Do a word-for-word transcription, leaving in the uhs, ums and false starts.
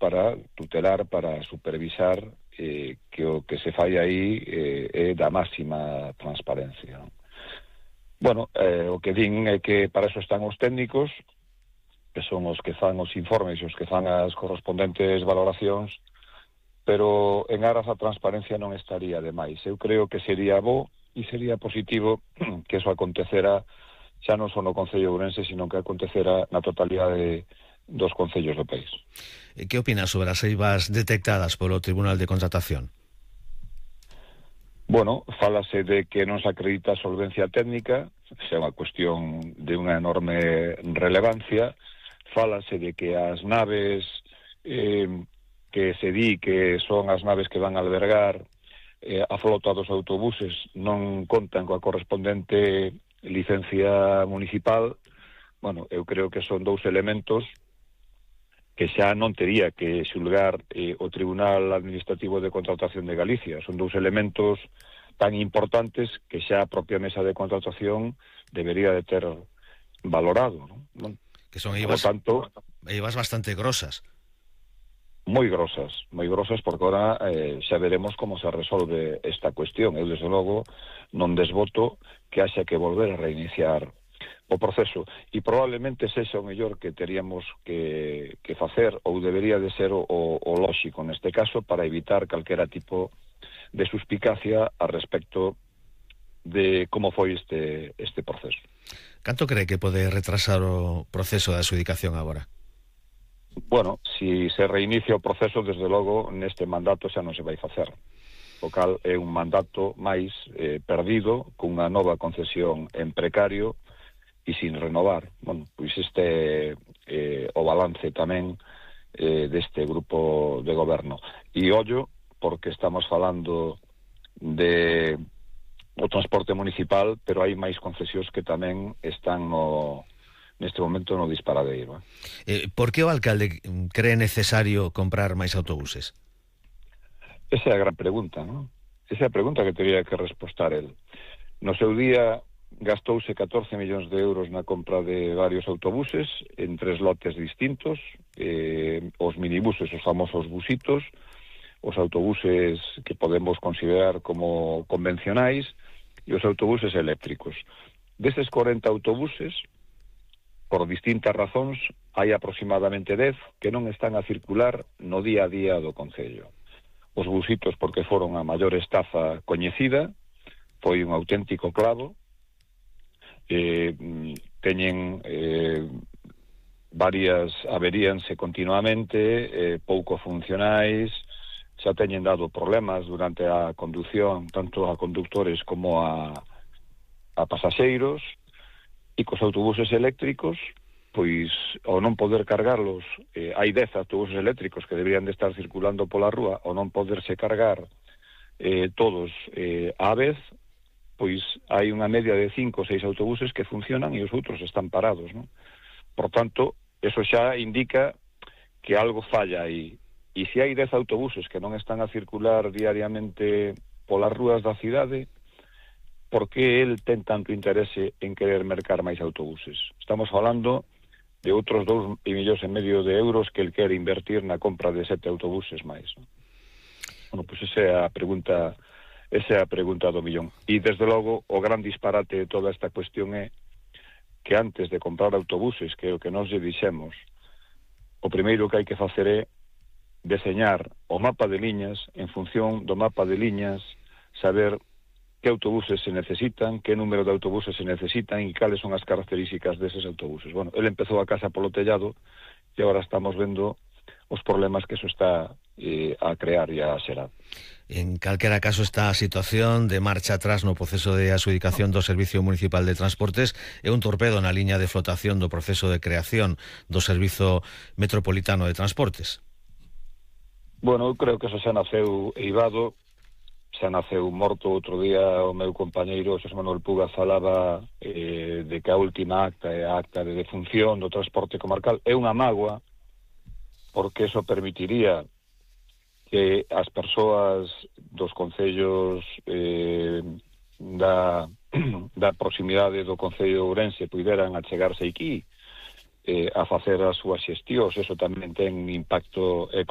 para tutelar, para supervisar eh, que o que se fai aí eh, é da máxima transparencia. Bueno, eh, o que din é que para eso están os técnicos, que son os que fan os informes e os que fan as correspondentes valoracións, pero en aras a transparencia non estaría de máis. Eu creo que sería bo e sería positivo que eso acontecera xa non só no Concello de Ourense, sino que acontecera na totalidade dos concellos do país. Que opinas sobre as eivas detectadas polo Tribunal de Contratación? Bueno, fálase de que non se acredita a solvencia técnica, xa é unha cuestión de unha enorme relevancia. Fálase de que as naves eh, que se di que son as naves que van a albergar eh, a flota dos autobuses non contan coa correspondente licencia municipal. Bueno, eu creo que son dous elementos que xa non tería que xulgar eh, o Tribunal Administrativo de Contratación de Galicia. Son dous elementos tan importantes que xa a propia mesa de contratación debería de ter valorado, ¿no? Bueno, que son eivas, tanto, eivas bastante grosas. Moi grosas, moi grosas, porque agora eh, xa veremos como se resolve esta cuestión. Eu, desde logo, non desboto que haxa que volver a reiniciar o proceso, e probablemente sexa o mellor que teríamos que, que facer, ou debería de ser o, o, o lóxico neste caso, para evitar calquera tipo de suspicacia a respecto de como foi este, este proceso. Canto cree que pode retrasar o proceso de adxudicación agora? Bueno, si se reinicia o proceso, desde logo, neste mandato xa non se vai facer. O cal é un mandato máis eh, perdido, cunha nova concesión en precario e sin renovar. Bueno, pois este eh, o balance tamén eh, deste grupo de goberno. E ollo, porque estamos falando de o transporte municipal, pero hai máis concesións que tamén están no... neste momento no disparadeiro. Eh, por que o alcalde cree necesario comprar máis autobuses? Esa é a gran pregunta, non? Esa é a pregunta que teria que respostar el. No seu día gastouse catorce millóns de euros na compra de varios autobuses en tres lotes distintos, eh, os minibuses, os famosos busitos, os autobuses que podemos considerar como convencionais e os autobuses eléctricos. Destes corenta autobuses, por distintas razóns, hai aproximadamente dez que non están a circular no día a día do Concello. Os busitos porque foron a maior estafa coñecida, foi un auténtico clavo, eh, teñen eh, varias averíanse continuamente, eh, pouco funcionais, xa teñen dado problemas durante a conducción, tanto a conductores como a, a pasaxeiros. E cos autobuses eléctricos, pois, ao non poder cargarlos, eh, hai dez autobuses eléctricos que deberían de estar circulando pola rúa, ao non poderse cargar eh, todos eh, á vez, pois hai unha media de cinco ou seis autobuses que funcionan e os outros están parados, non? Por tanto, eso xa indica que algo falla aí. E se hai dez autobuses que non están a circular diariamente polas rúas da cidade, por que el ten tanto interese en querer mercar máis autobuses? Estamos falando de outros dous millóns e medio de euros que el quere invertir na compra de sete autobuses máis, non? Bueno, pois esa é a pregunta, esa é a pregunta do millón. E, desde logo, o gran disparate de toda esta cuestión é que antes de comprar autobuses, que é o que nós lle dixemos, o primeiro que hai que facer é deseñar o mapa de liñas, en función do mapa de liñas, saber que autobuses se necesitan, que número de autobuses se necesitan e cales son as características deses autobuses. Bueno, ele empezou a casa polo tellado e agora estamos vendo os problemas que eso está eh, a crear e a xerar. En calquera caso, esta situación de marcha atrás no proceso de adxudicación do Servicio Municipal de Transportes é un torpedo na liña de flotación do proceso de creación do Servizo Metropolitano de Transportes. Bueno, eu creo que eso xa naceu eivado, xa naceu morto. Outro día o meu compañeiro Xosé Manuel Puga falaba eh, de que a última acta é a acta de defunción do transporte comarcal. É unha mágoa, porque eso permitiría que as persoas dos concellos eh, da, da proximidade do Concello de Ourense puderan achegarse aquí eh, a facer as súas xestións. Eso tamén ten impacto económico